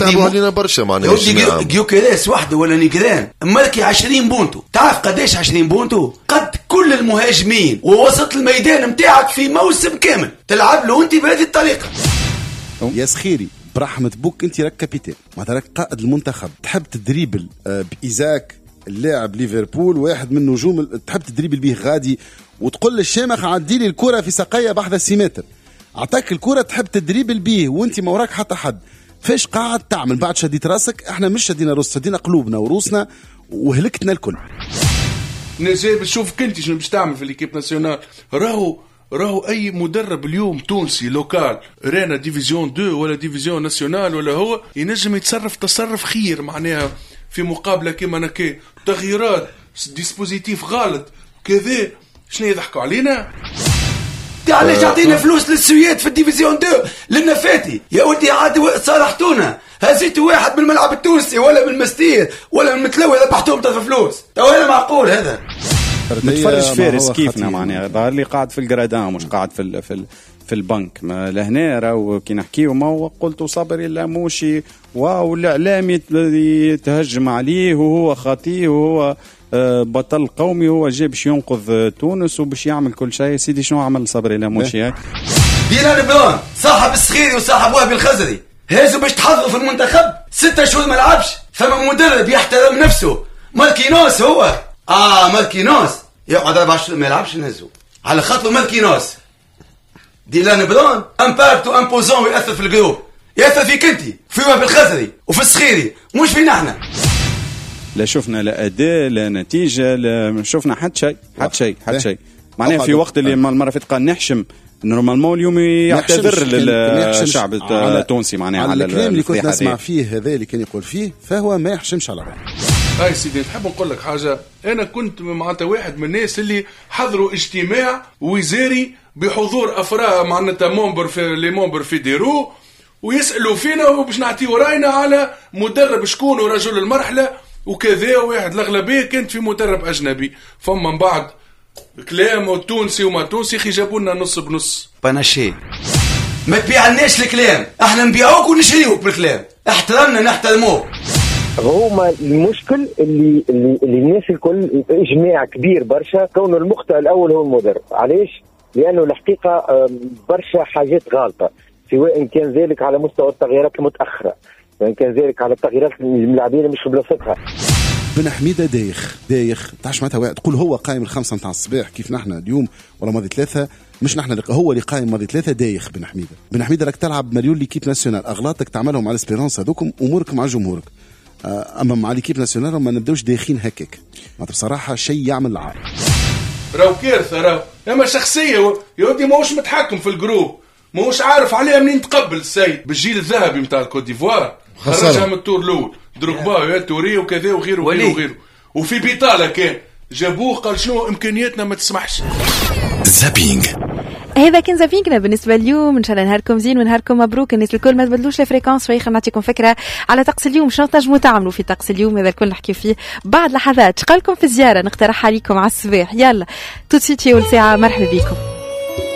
تعبوا علينا برشا معناها. جيوكيريس وحده ولا نيجران ماركي 20 بونتو، تعرف قداش 20 بونتو؟ قد كل المهاجمين ووسط الميدان نتاعك في موسم كامل تلعب له انت بهذه الطريقة. يا سخيري برحمة بوك انت راك capitaine، معناتها راك قائد المنتخب، تحب تدريبل بإيزاك اللاعب ليفربول واحد من نجوم، تحب تدريبل به غادي وتقول للشامخ عدي لي الكرة في ساقية بحذا السيمتر، عطاك الكرة تحب تدريبل به وانت ما وراك حتى حد، فاش قاعد تعمل؟ بعد شديت راسك، احنا مش شدينا روس، شدينا قلوبنا وروسنا وهلكتنا الكل. نجيب شوف كنت شنو باش تعمل في l'équipe nationale. راهو اي مدرب اليوم تونسي local رانا division 2 ولا division nationale ولا هو ينجم يتصرف تصرف خير معناها في مقابله كيما نكي تغييرات dispositif غلط كذا، شنو يضحكوا علينا؟ علاش تعطينا فلوس للسويد في ال division 2 للنفاتي يا ودي؟ عاد صالحتونا، هزيتوا واحد من الملعب التونسي ولا من المستير ولا من المتلوي ربحتوهم طرف فلوس، تو هذا معقول هذا؟ متفرج فارس كيفنا معناها ظهر لي قاعد في ال gradins مش قاعد في البنك. ما لهنا راهو كي نحكيو ما هو قلت صبري اللاموشي والاعلام يتهجم عليه وهو خاطيه وهو بطل قومي، هو جاي باش ينقذ تونس وباش يعمل كل شيء. سيدي شنو عمل صبري اللاموشي؟ ديلان برون صاحب الصخيري وصاحب وهبي الخزري هازو باش تحضروا في المنتخب 6 شهور ما لعبش. فما مدرب يحترم نفسه، ماركينوس هو ماركينوس يقعد 4 شهور ما يلعبش نهزو على خاطر ماركينوس. ديلان برون impact و imposant ويأثر في ال groupe، يأثر فيك انت في وهبي الخزري وفي الصخيري مش فينا احنا. لا شفنا لا اداء لا نتيجة لا شفنا حتى شيء حتى شيء حتى شيء معناها في وقت اللي المرة فاتت قال نحشم، normalement اليوم يعتذر للشعب التونسي معناها على الكلام اللي كنت نسمع فيه هذا اللي كان يقول فيه، فهو ما يحشمش على روحه. هاي سيدي نحب نقول لك حاجة، انا كنت معناتها واحد من الناس اللي حضروا اجتماع وزاري بحضور افراد معناتها membres في les membres fédéraux ويسالوا فينا وباش نعطيو راينا على مدرب شكون ورجل المرحلة وكذا، واحد الاغلبية كانت في مدرب اجنبي، فما من بعد كلام تونسي وما تونسي خي جابوا لنا نص بنص بناشي. ما تبيعناش الكلام، احنا نبيعوك ونشريوك بالكلام، احترمنا نحترموك. هما المشكل اللي الناس الكل اجماع كبير برشا كونه المخطئ الاول هو المدرب. علاش؟ لانه الحقيقة برشا حاجات غالطه، سواء كان ذلك على مستوى التغييرات المتاخرة، سواء كان ذلك على التغييرات الملاعبين مش في بلاصتها. بن حميده دايخ دايخ، تعرفش معناتها تقول هو قايم 5 نتاع الصباح كيف نحن اليوم ولا ماضي 3، مش نحن هو اللي قايم ماضي 3 دايخ. بن حميده، بن حميده راك تلعب مليون l'équipe nationale، اغلاطك تعملهم على l'Espérance هذوكم امورك مع جمهورك، اما مع l'équipe nationale ما نبداوش دايخين هكاك، معناتها بصراحة شيء يعمل العار. راهو كارثة، راهو اما شخصية يا ودي ماهوش متحكم في ال groupe، ماهوش عارف عليها منين تقبل السيد. بالجيل الذهبي نتاع الكوت ديفوار خرجها من ال tour الاول، دروكبا يا توري وكذا وغيره وغيره وغيره، وفي بيطاله كان جابوه قال شنو امكانياتنا ما تسمحش. zapping هذا كان zapping نا بالنسبة اليوم. ان شاء الله نهاركم زين ونهاركم مبروك. الناس الكل ما تبدلوش ال fréquence، شوي خلينا نعطيكم فكرة على طقس اليوم شنو تنجموا تعملوا في طقس اليوم. هذا الكل نحكي فيه بعد لحظات. شقالكم في الزيارة نقترحها عليكم على الصباح. يلا tout de suite اول ساعة مرحبا بكم.